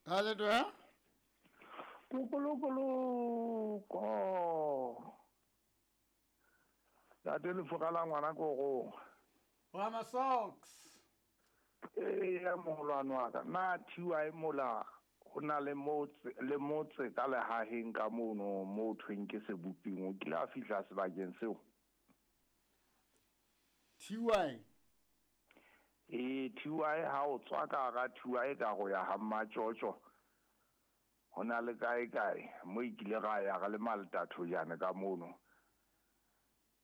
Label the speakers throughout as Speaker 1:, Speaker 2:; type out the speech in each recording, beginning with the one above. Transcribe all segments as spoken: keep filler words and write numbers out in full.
Speaker 1: Ka le twa?
Speaker 2: Kukulukuluko. Ntate lefoka la ngwana korong.
Speaker 1: Wa ma socks.
Speaker 2: Eh ya moholwane wa ka. Na thiwa e mola ho na le motse le motse ka lehaheng ka mono mo thweng ke seboping o kile a fihla sebakeng seo.
Speaker 1: T Y.
Speaker 2: E T Y ha o tswa ka hara T Y ka go ya ha Mmatjotjo. Ho na le kae kae mo ikile ga ya ga le maltatho jana ka mono.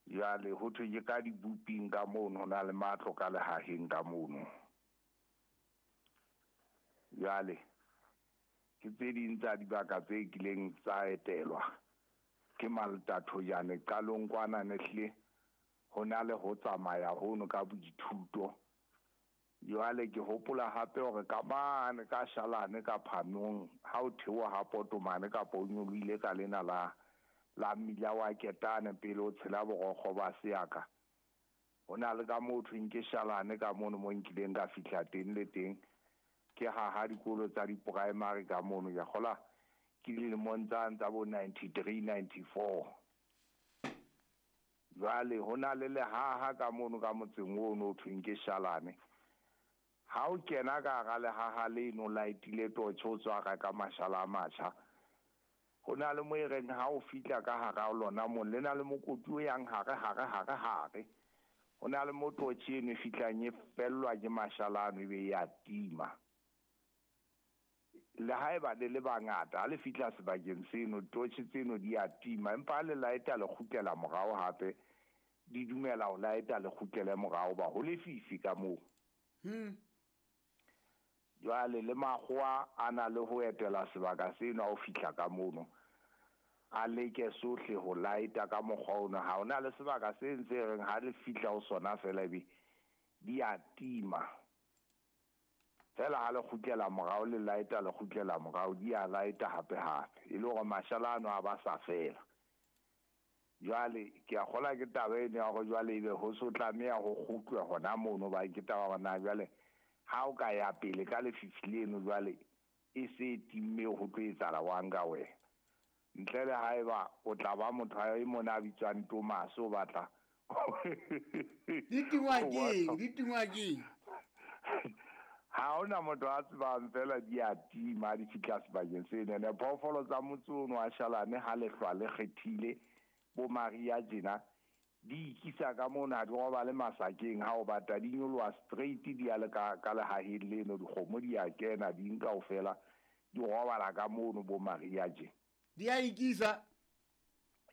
Speaker 2: Jwale ho thwe ke ka diboping ka mono ho na le matlo ka lehaheng ka mono. Jwale ke tse ding tsa dibaka tse kileng tsa etelwa ke maltatho jana qalong kwana ne hle ho na le ho tsamaya hono ka boithuto. Jwale ke hopola hape hore ka mane ka Shalane ka Phanong ha o theoha ha Potomane kapa o nyolohile ka lena la la mmila wa Ketane pele o tshela borokgo ba Seaka. Ho na le ka moo thweng ke Shalane ka mono mo nkileng ka fihla teng le teng ke haha dikolo tsa di-primary ka mono. Ke kgola ke dilemong tsa tsa bo ninety-three ninety-four. Jwale ho na le lehaha ka mono ka motseng ono o thweng ke Shalane. Ha o kena ka hara lehaha leno laetile torch o tswa ka mashala a matjha. Ho na le mo e reng ha o fihla ka hara lona mo le na le mokoti o yang hare hare hare hare. Ho na le mo torch eno e fihlang e fellwa ke mashala ano ebe ya tima. Le haeba le le bangata ha le fihla sebakeng seno torch tseno di a tima empa ha le laeta le kgutlela morao hape di dumela ho laeta le kgutlele morao ba ho lefifi ka moo.
Speaker 1: Hmm.
Speaker 2: Jwale le makgowa a na le ho etela sebaka seno ha o fihla ka mono a leke sohle ho laeta ka mokgwa ono. Ha ona le sebaka se ntse reng ha le fihla ho sona fela ebe di a tima. Fela ha le kgutlela morao le laeta le kgutlela morao di a laeta hape hape e le hore mashala ano a ba sa fela. Jwale ke a kgola ke taba eno ya hore jwale ebe ho so tlameha ho kgutlwe hona mono ba ke taba hore na jwale ha o ka ya pele ka lefifi leno jwale e se timme ho tlo etsahala wang ka wena. Ntle le haeba o tla ba motho a e mona a bitswang Thomas o batla
Speaker 1: Di tingwa keng? Di tingwa keng?
Speaker 2: Ha hona motho a tsebang fela di a tima di fihla sebakeng seno. Ene phoofolo tsa motse ono wa Shalane ha lehlwa le kgethile bo Maria tjena di ikisa ka mona ha di robale masakeng ha o bata di nyoloha straight di ya le ka ka lehaheng leno dikgomo di a kena di nka kaofela di robala ka mono bo Maria tje.
Speaker 1: Di a ikisa?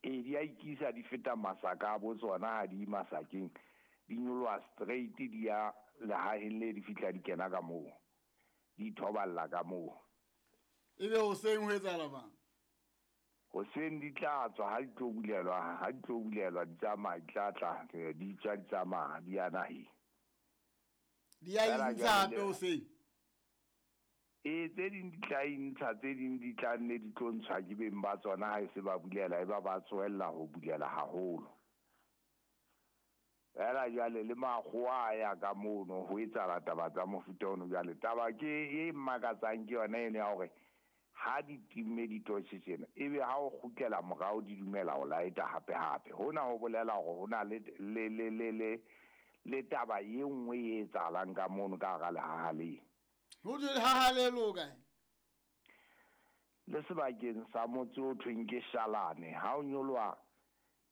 Speaker 2: E di a ikisa di feta masaka a bo tsona ha di masakeng di nyoloha straight di ya lehaheng le di fihla di kena ka moo di thoballa ka moo.
Speaker 1: Ebe hoseng ho etsahala mang?
Speaker 2: Hoseng di tla tswa ha di tlo bulelwa ha di tlo bulelwa di tsamaya di tla tla di tswa di tsamaya di ya naheng.
Speaker 1: Di a intsha hape hoseng?
Speaker 2: E tse ding di tla intsha tse ding di tla nne di tlo ntshwa ke beng ba tsona ha e se ba bulela e ba ba tsohella ho bulela haholo. Fela jwale le makgowa a ya ka mono ho etsahala taba tsa mofuta ono. Jwale taba ke e mmakatsang ke yona eno ya hore ha di timme ditotjhe tsena ebe ha o kgutlela morao di dumela ho laeta hape hape. Hona ho bolela hore hona le le le le le le taba e nngwe e etsahalang ka mono ka hara lehaha le.
Speaker 1: Ho thwe lehaha le lo kae?
Speaker 2: Le sebakeng sa motse o thweng ke Shalane. Ha o nyoloha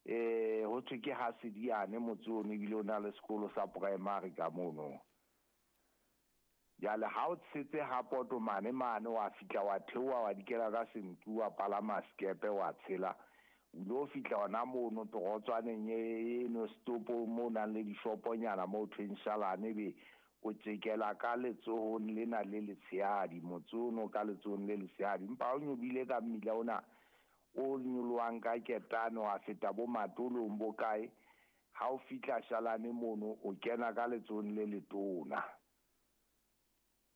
Speaker 2: eh ho thwe ke Hasediane motse ono ebile o na le sekolo sa primary ka mono. Jwale ha o tshetse ha Potomane mane wa fihla wa theoha wa dikela ka sentu wa palama sekepe wa tshela o lo fihla hona mono torotswaneng eno stopo mo nang le dishoponyana mo thweng Shalane be o tjekela ka letsohong lena le letshehadi motse ono ka letsohong le letshehadi. Empa o nyobile ka mmila ona o nyolohang ka Ketane wa feta bo Matolong bo kae ha o fihla Shalane mono o kena ka letsohong le letona.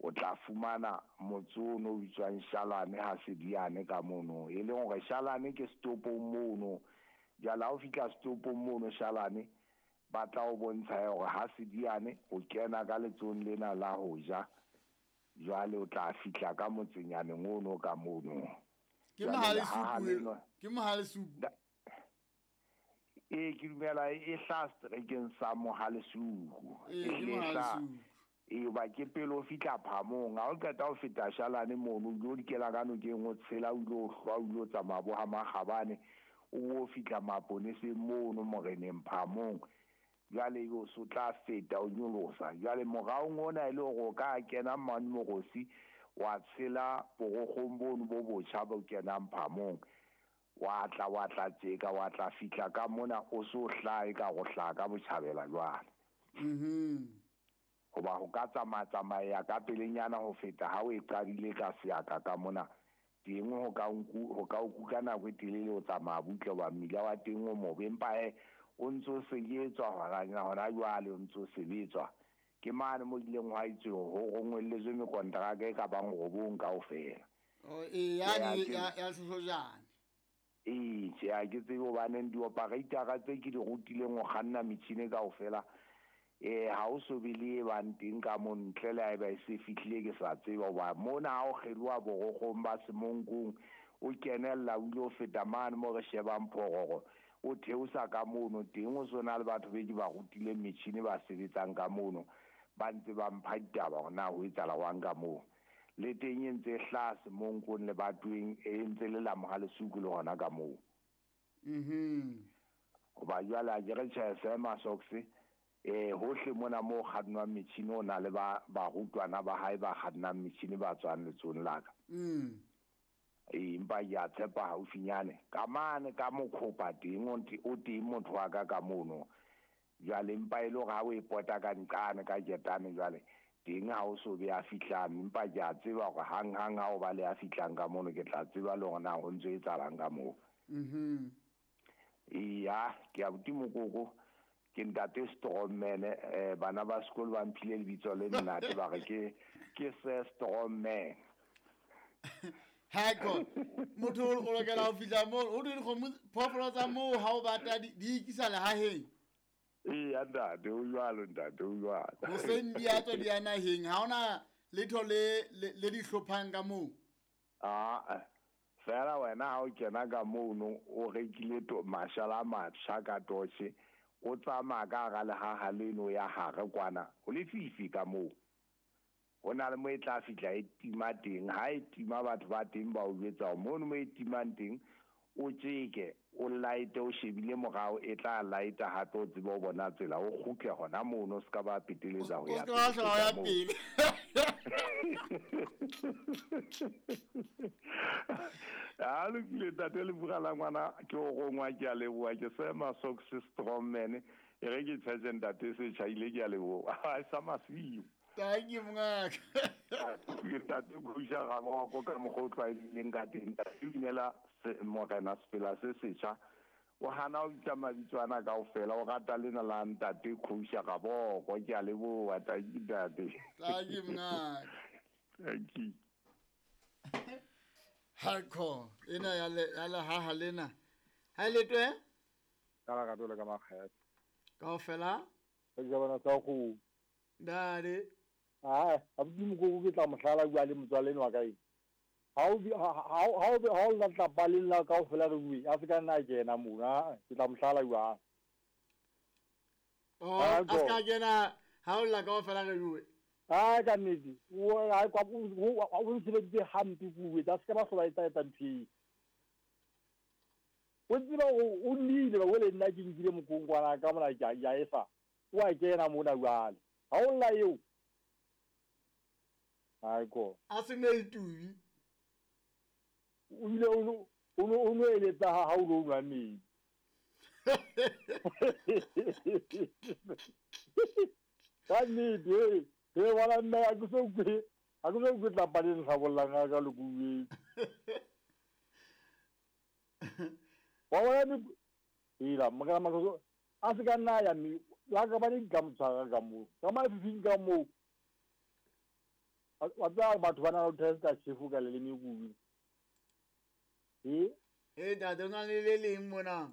Speaker 2: O tla fumana motse ono o bitswang Shalane ha Sediane ka mono e leng hore Shalane ke setopong mono. Jwale ha o fihla setopong mono Shalane ba tla o bontsha hore ha Sediane o kena ka letsohong lena la ho ja Jwale o tla fihla ka motsenyaneng ono ka mono.
Speaker 1: Ke Mohalesuku, ke Mohalesuku.
Speaker 2: E ke dumela e hla seterekeng sa Mohalesuku.
Speaker 1: E ke Mohalesuku.
Speaker 2: E ba ke pele o fihla Phamong, ha o qeta ho feta Shalane mono, o ilo dikela ka nokeng o tshela o ilo hlwa o ilo tsamaya bo ha Makgabane, o fihla maponeseng mono moreneng Phamong. Jwale o so tla feta o nyolosa. Jwale moraong ona e le hore o ka kena mane Morosi wa tshela borokgong bono bo botjha bo kenang Phamong. Wa tla wa tla tjeka wa tla fihla ka mona o so hlae ka go hlaha ka botjhabela jwale.
Speaker 1: Mhm.
Speaker 2: Hoba ho ka tsamaya tsamaya ka pelenyana ho feta ha o e qadile ka seaka ka mona teng ho ka nku ho ka o kuka nako e telele o tsamaya butle ba mmila wa teng o mobe, empa he o ntso sebetswa hona hona jwale o ntso sebetswa. Ke mane mo ileng hwa itswe ho rongwelletswe mekontraka e ka bang robong kaofela.
Speaker 1: Oh e ya ya ya Soshojane.
Speaker 2: Ee, tjhe ha ke tsebe hobaneng di-operator tse ke di rutileng ho kganna metjhini kaofela eh ha o so be le bang teng ka mo ntle le haeba e se fihlile ke sa tseba hoba mona ha o kgeloha borokgong ba Semonkong o kenella o ile ho feta mane mo re shebang Phororo o theosa ka mono teng o sona le batho be ke ba rutileng metjhini ba sebetsang ka mono ba ntse ba mpha ditaba hore na ho etsahala jwang ka moo. Le teng e ntse e hlaha Semonkong le Batweng e ntse le la Mohalesuku le hona ka moo.
Speaker 1: Mhm.
Speaker 2: Hoba jwale ha ke re tjhe Sema Socks eh hohle mona mo kgannwang metjhini o na le ba barutwana ba hae ba kgannang metjhini ba tswang letsong la ka.
Speaker 1: Mm.
Speaker 2: E empa ke a tshepa haufinyane ka mane ka mokhopa teng o teng motho wa ka ka mono. Jwale empa e le hore ha o e pota ka nqane ka ketane jwale teng ha o so be a fihlang, empa ke a tseba hore hang hang ha o ba le a fihlang ka mono ke tla tseba le hore na ho ntso etsahalang ka moo.
Speaker 1: Mhm.
Speaker 2: Eya, ke abuti Mokoko ke ntate Strongman, eh bana ba sekolo ba mphile lebitso le nnate ba re ke ke se Strongman.
Speaker 1: Hako motho o lokela ho fihla moo o di dikgomo phoofolo tsa moo ha o batla di ikisa lehaheng.
Speaker 2: Eya ntate o jwalo ntate o jwalo.
Speaker 1: Hoseng di a tswa di ya naheng, ha hona letho le le di hlophang ka moo.
Speaker 2: Ah fela wena ha o kena ka mono o rekile to mashala a matjha ka torch o tsamaya ka hara lehaha leno ya hare kwana ho lefifi ka moo. Ho na le mo e tla fihla e tima teng, ha e tima batho ba teng ba o jwetsa hore mono mo e timang teng o tjeke o light o shebile morao e tla light hape o tsebe o bona tsela o kgutle hona mono o ska ba peteletsa ho ya
Speaker 1: pele.
Speaker 2: Ha lokile tate le bua la ngwana ke o rongwa ke a leboha ke Sema Socks Strongman e re ke tshetse ntate se tjhaile ke a leboha ha sa masiu.
Speaker 1: Thank you mongaka.
Speaker 2: Ke tate go ja ga moko ka mokgwa o tlwaelehileng ka teng ntate dumela morena Sepela se setjha o hana o bitsa mabitso ana kaofela o rata lena la ntate Khousha Gaboko ke a leboha thank you ntate.
Speaker 1: Thank you mongaka.
Speaker 2: Thank you.
Speaker 1: Hardcore ena ya le ya lehaha lena ha le twe
Speaker 3: ka la ka ka makgethe
Speaker 1: kaofela
Speaker 3: ke bona tsa go
Speaker 1: dade
Speaker 3: ah abuti Mokoko ke tla mohlala bua le motswaleno wa ka eng ha o ha o ha o la tla paleng la kaofela re bue a se ka nna kena mona ke tla mohlala bua.
Speaker 1: Oh a se ka kena ha o la kaofela re bue.
Speaker 3: Ah ka nnete o ha kwa o ntshebeditse hampe kuwe tsa se ka ba hlola etsa etsa ntho eo. O tseba o nnile ba wele nna ke nkile mokongwana ka mona ke ya efa o a kena mona jwale ha o lla eo. Hai ko
Speaker 1: a se ne itubi
Speaker 3: o ile o o o no eletsa ha o lo nwa metsi. Ka nnete e wala nna a ke so kwe a ke so kwe tla paleng tlhabollang ka le kuwe. Wa wala ni ila magala makoso a se ka nna ya mi la ka ba ni ka motshwara ka moo ka mafifing ka moo wa tsaya batho ba na le testa chefu ka leleme kuwe. E
Speaker 1: e ntate o na le le leng mona.